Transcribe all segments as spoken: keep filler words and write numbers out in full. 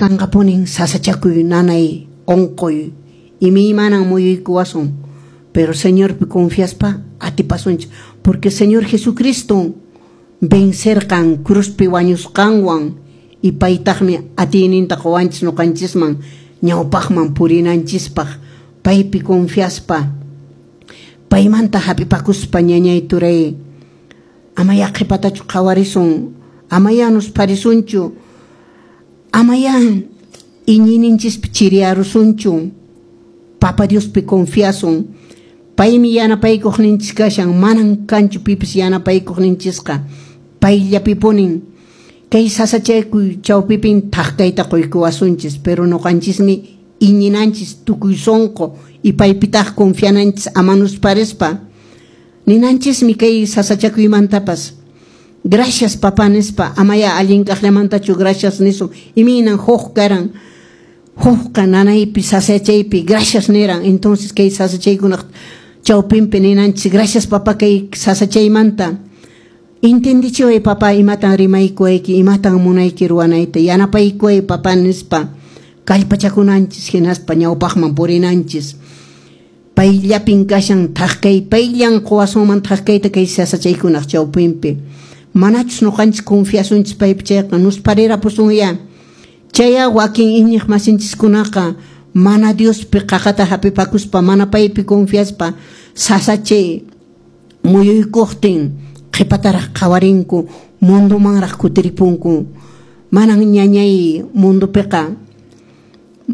Kanqapunin sasachakuy nanay onqoy imaymanan muyuykuwasun, pero Señorpi confiaspa atipasunchis, porque Señor Jesucristo vencerqan cruzpi wañusqanwan y paytaqmi atiyninta qowanchis ñuqanchisman ñawpaqman purinanchispaq paypi confiaspa paymanta hap'ipakuspa. Ñañay, turay, amaya qhipatachu qhawarisun, amaya nusparisunchu, amaya iñiyninchispi chiriyarusunchu. Papa Diospi confiasun, paymi yanapaykuqninchis kashan, manan kanchu pipis yanapaykuqninchisqa, payllapipunin. Kay sasachakuy chawpipin thak kayta quykuwasunchis, pero ñuqanchismi iñinanchis tukuy sunqu y paypitaq confiananchis ama nusparispa. Ninanchismi kay sasachakuymantapas "Gracias, papá" nispa. Amaya allin kaqllamantachu gracias nisun. Imaynan Job karan? Jobqa nanaypi sasachaypi gracias niran. Entonces kay sasachaykunaq chawpinpi ninanchis: "Gracias, papá, kay sasachaymanta entendichiway, papá, imatan rimaykuwayki, imatan munayki ruwanayta, yanapaykuway, papá" nispa kallpachakunanchis, hinaspa ñawpaqman purinanchis. Payllapin kashan thak kay, payllan quwasunman thak kayta kay sasachaykunaq chawpinpi. Manachus ñuqanchis confiasunchis paypi chayqa nusparirapusunya. Chaya wakin iñiq masinchiskunaqa mana Diospi qaqata hapipakuspa, mana paypi confiaspa, sasachay muyuykuqtin qhipataraq qhawarinku, mundumanraq kutiripunku. Manan, ñañay, mundupiqa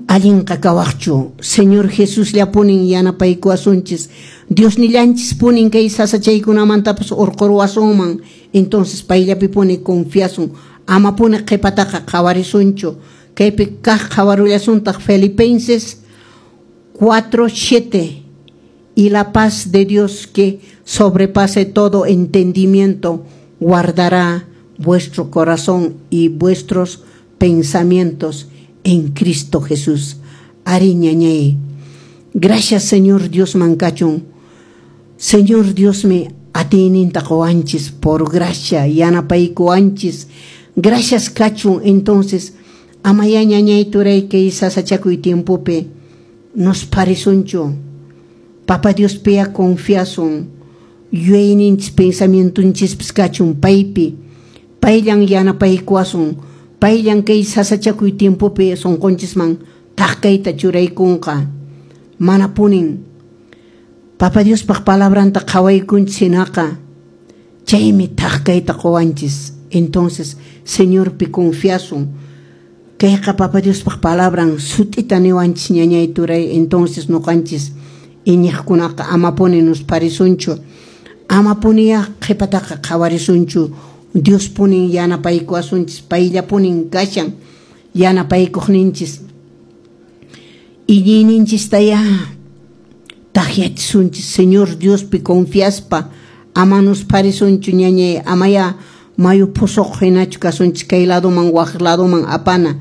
allinqa kawaqchu. Señor Jesusllapunin yanapaykuwasunchis, Diosnillanchis punin kay sasachaykunamantapas urquruwasunman. Entonces payllapipuni confiasun, amapuni qhipataqa qhawarisunchu. Kaypi kaq qhawarullasuntaq Filipenses cuatro siete: "Y la paz de Dios, que sobrepase todo entendimiento, guardará vuestro corazón y vuestros pensamientos en Cristo Jesús". Ari, ñañay. Gracias Señor Dios mankachun. Señor Dios mi atiyninta qowanchis por gracia, yanapaykuwanchis. Gracias kachun. Entonces amaya, ñañay, turay, kay sasachakuy tiempopi nos parisunchu. Papa Dios pia confiasun. Yuyayninchis pensamientonchispis kachun paypi. Payllan yanapaykuwasun. Payllan kay sasachakuy tiempopi sunqunchisman thak kayta churaykunqa. Manapunin Papa Diospaq palabranta qhawaykunchis hinaqa chaymi thak kayta quwanchis. Entonces Señorpi confiasun. Kayqa Papa Diospaq palabran sut'ita niwanchis, ñañay, turay. Entonces ñuqanchis iñiqkunaqa amapuni nusparisunchu, amapuniya qhipataqa qhawarisunchu. Dios punin yanapaykuwasunchis, payllapunin kashan yanapaykuqninchis. Iñiyninchistaya takyachisunchis Señor Diospi confiaspa, ama nusparisunchu, ñañay, amaya mayu pusuq hinachu kasunchis, kay ladoman waq ladoman apana.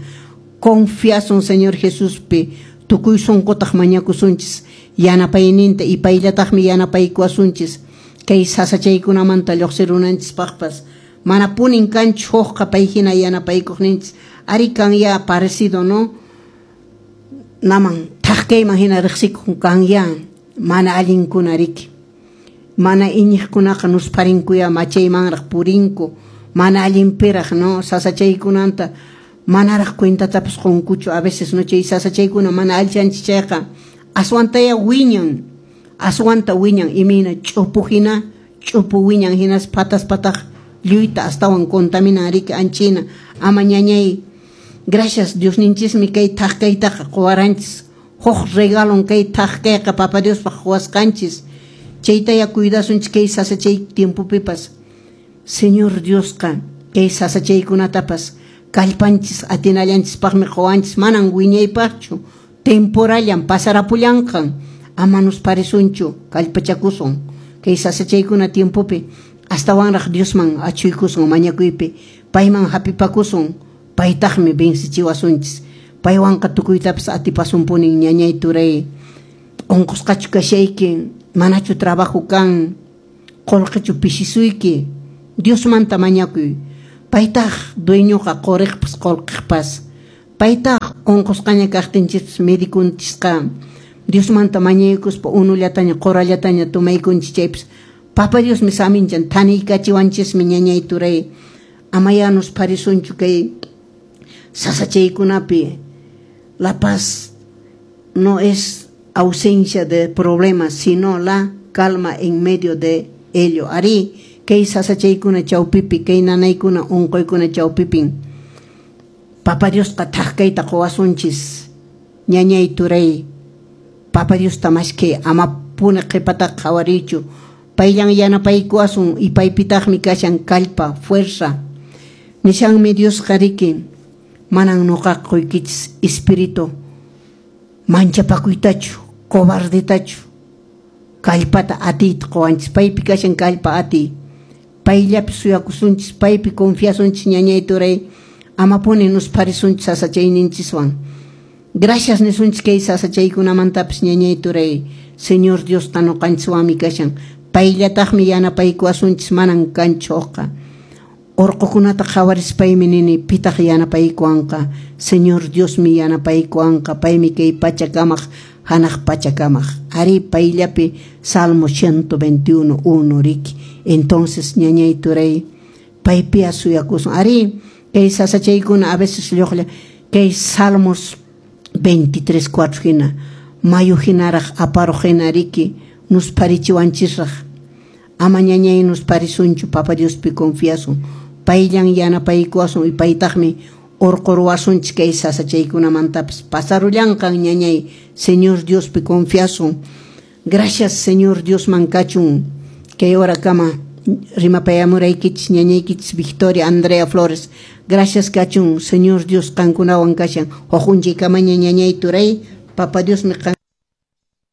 Confiasun Señor Jesuspi, tukuy sunqutaq mañakusunchis yanapayninta y payllataqmi yanapaykuwasunchis kay sasachaykunamanta lluqsirunanchispaqpas. Mana punin kanchu hukqa pay hina yanapaykuqninchis. Ari, kan ya parecido, no naman thak kayman hina riqsikun kan ya mana allinkuna riki. Mana iñiqkunaqa nusparinkuya, machaymanraq purinku, mana allinpiraq, no sasachaykunanta manaraq cuentatapas qunkuchu a veces, no chay sasachaykuna mana allichanchis chayqa aswantaya wiñan, aswanta wiñan, imayna ch'upu hina ch'upu wiñan, hinas patas pataq lluyta astawan contaminan riki anchina. Ama, ñañay, gracias Diosninchismi kay thak kaytaqa quwaranchis. Huk regalon kay thak kayqa Papa Diospaq quwasqanchis, chaytaya cuidasunchis kay sasachay tiempopipas. Señor Diosqa kay sasachaykunatapas kallpanchis atinallanchispaqmi quwanchis, manan wiñaypaqchu, temporallan, pasarapullanqan. Ama nusparisunchu, kallpachakusun kay sasachaykuna tiempopi, astawanraq Diosman achuykusun mañakuypi, payman hapipakusun, paytaqmi vencichiwasunchis, paywanqa tukuytapas atipasunpunin. Ñañay, turay, unqusqachu kashayki, manachu trabajo kan, qullqichu pishisuyki, Diosmanta mañakuy. Paytaq dueñoqa quriqpas qullqiqpas, paytaq. Unqusqaña kaqtinchis medikunchisqa Diosmanta mañaykuspa unullataña qurallataña tomaykunchis chaypis Papa Diosmi saminchan thaniykachiwanchismi ñañay turay. Amayá nusparisunchu kay sasachaykunapi. La paz no es ausencia de problemas, sino la calma en medio de ello. Arí, kay sasachaykuna chawpipi, kay nanaykuna unquykuna chawpipin Papa Diosqa thak kayta quwasunchis. Ñañay turay, Papa Diosta maskhay, amapuni qhipataqa qhawariychu. Payllan yanapaykuwasun y paypitaqmi kashan kallpa, fuerza. Nishanmi Diosqa riki, manan nuqaqa quykichis espíritu manchapakuytachu, cobardetachu. Kallpata atiyta quwanchis, paypi kashan kallpa atiy. Payllapi suyakusunchis, paypi confiasunchis ñañay turay, amapuni nusparisunchis sasachayninchiswan. Gracias nisunchis kay sasachaykunamantapis ñañay turay, Señor Diosqa nuqanchiswanmi kashan. Payllataqmi yanapaykuwasunchis, manan kanchu hukqa. Urqukunata qhawarispaymi nini, pitaq yanapaykuwanqa? Señor Diosmi yanapaykuwanqa, paymi kay pachakamaq, hanaq pachakamaq. Arí, payllapi Salmo ciento veintiuno, uno riki. Entonces, ñañay turay, paypi suyakusun. Arí, kay sasachaykuna a veces lluqlla, kay Salmos veintitrés, cuatro hina, mayu hinaraq aparuq hina riki, nusparichiwanchisraq. Ama ñañay nusparisunchu, Papa Diospi confiasun. Payllan yanapaykuwasun y paytaqmi urquruwasunchis kay sasachaykunamantapis. Pasarullanqan ñañay, Señor Diospi confiasun. Gracias Señor Diosman kachun. Kay horakama rimapayamuraykichis ñañaykichis Victoria Andrea Flores. Gracias kachun, Señor Dios qankunawan kashan. Huk unchaykamaña ñañay turay, Papa Diosmi qan